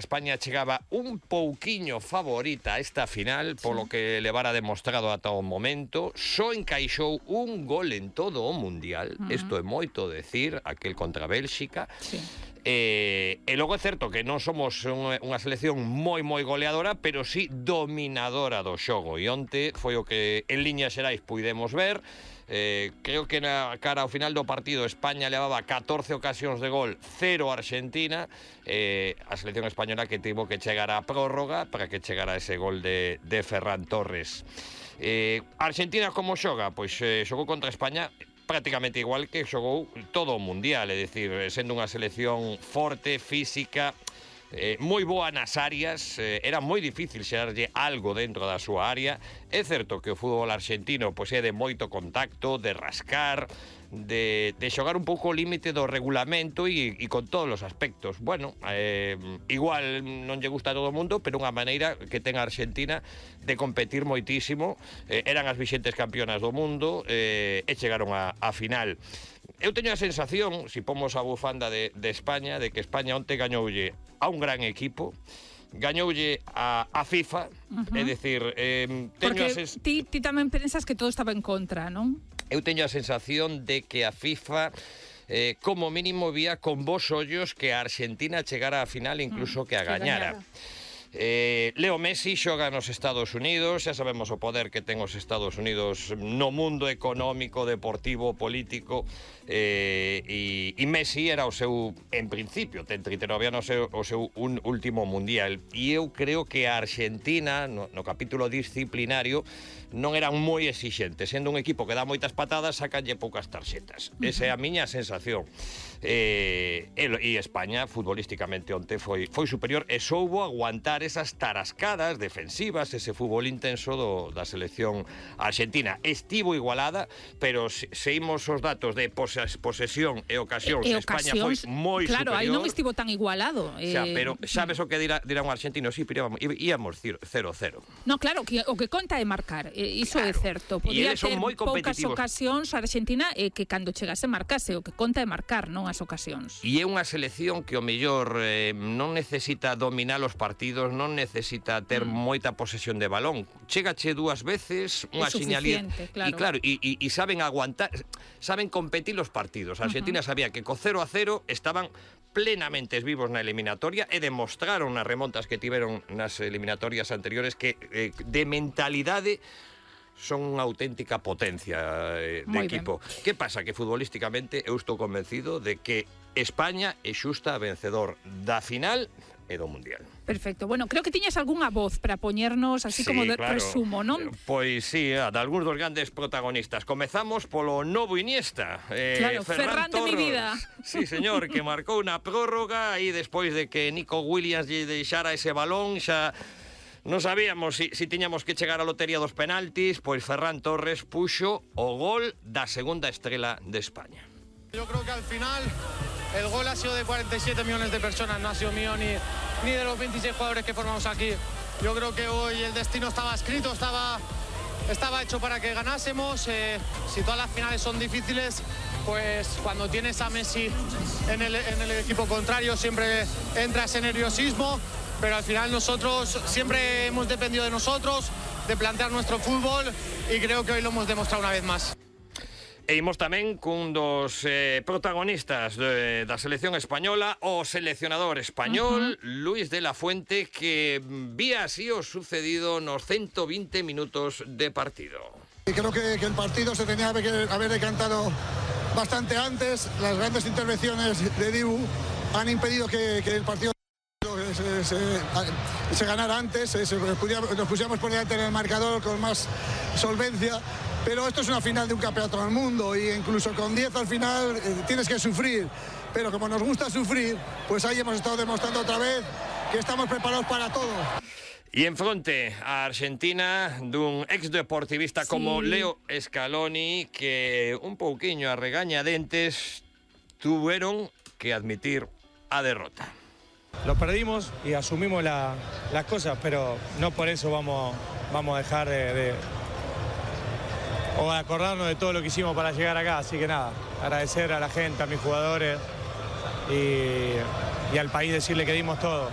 España chegaba un pouquiño favorita a esta final, polo que levara demostrado ata o momento, só encaixou un gol en todo o Mundial, isto é moito decir, aquel contra Bélxica, e logo é certo que non somos unha selección moi goleadora, pero sí dominadora do xogo, e onte foi o que en liñas xerais puidemos ver. Creo que na cara ao final do partido España levaba 14 ocasións de gol, 0 Argentina, a selección española que tivo que chegar á prórroga para que chegara ese gol de Ferran Torres. Argentina como xoga? Pois xogou contra España prácticamente igual que xogou todo o Mundial, é dicir, sendo unha selección forte, física, moi boa nas áreas, era moi difícil xerarlle algo dentro da súa área. É certo que o fútbol argentino pois é de moito contacto, de rascar, de xogar un pouco o límite do regulamento e con todos os aspectos. Bueno, igual non lle gusta a todo o mundo, pero unha maneira que ten a Argentina de competir moitísimo. Eran as vixentes campeonas do mundo e chegaron á final. Eu teño a sensación, se pomos a bufanda de España, de que España onte gañoulle a un gran equipo, gañoulle a FIFA, é dicir, porque ti tamén pensas que todo estaba en contra, non? Eu teño a sensación de que a FIFA como mínimo vía con bons ollos que a Argentina chegara á final, incluso que a gañara. Leo Messi xoga nos Estados Unidos, xa sabemos o poder que ten os Estados Unidos no mundo económico, deportivo, político, e Messi era o seu, en principio, ten 39 anos, o seu último mundial, e eu creo que a Argentina, no capítulo disciplinario, non eran moi exixentes, sendo un equipo que dá moitas patadas, sacanlle poucas tarxetas. Esa é a miña sensación. E España, futbolísticamente onte, foi superior e soubo aguantar esas tarascadas defensivas, ese fútbol intenso da selección argentina. Estivo igualada, pero se imos os datos de posesión e ocasións, España foi moi superior. Claro, aí non estivo tan igualado. Pero sabes o que dirá un argentino? Sí, pero íamos 0-0. No, claro, o que conta é marcar. Iso claro, é certo. Podía ter poucas ocasións a Argentina que cando chegase marcase. O que conta é marcar, non as ocasións. E é unha selección que o mellor non necesita dominar os partidos, non necesita ter moita posesión de balón. Chégache dúas veces, unha señalía. Claro. E saben aguantar, saben competir os partidos. A Argentina sabía que co 0-0 estaban plenamente vivos na eliminatoria e demostraron nas remontas que tiveron nas eliminatorias anteriores que de mentalidade son unha auténtica potencia de equipo. Que pasa? Que futbolísticamente eu estou convencido de que España é xusta vencedor da final e do Mundial. Perfecto. Bueno, creo que tiñas algunha voz para poñernos así como de resumo, non? Pois sí, de algúns dos grandes protagonistas. Comezamos polo novo Iniesta. Claro, Ferran de mi vida. Sí, señor, que marcou na prórroga e despois de que Nico Williams lle deixara ese balón, xa non sabíamos si tiñamos que chegar á lotería dos penaltis, pois Ferran Torres puxo o gol da segunda estrela de España. Yo creo que al final el gol ha sido de 47 millones de personas, no ha sido mío ni de los 26 jugadores que formamos aquí. Yo creo que hoy el destino estaba escrito, estaba hecho para que ganásemos. Si todas las finales son difíciles, pues cuando tienes a Messi en el equipo contrario siempre entra ese nerviosismo. Pero al final nosotros siempre hemos dependido de nosotros, de plantear nuestro fútbol y creo que hoy lo hemos demostrado una vez más. E imos tamén cun dos protagonistas da selección española, o seleccionador español, Luis de la Fuente, que vía así o sucedido nos 120 minutos de partido. Creo que el partido se tenía que haber decantado bastante antes. Las grandes intervenciones de Dibu han impedido que el partido se ganara antes, nos pusiéramos por delante en el marcador con más solvencia, pero esto es una final de un campeonato del mundo y incluso con 10 al final tienes que sufrir, pero como nos gusta sufrir, pues ahí hemos estado demostrando otra vez que estamos preparados para todo. E en fronte a Argentina dun exdeportivista como Leo Scaloni, que un pouquiño a regañadentes tuvieron que admitir a derrota. Lo perdimos y asumimos las cosas, pero no por eso vamos a dejar o acordarnos de todo lo que hicimos para llegar acá. Así que nada, agradecer a la gente, a mis jugadores y al país, decirle que dimos todo.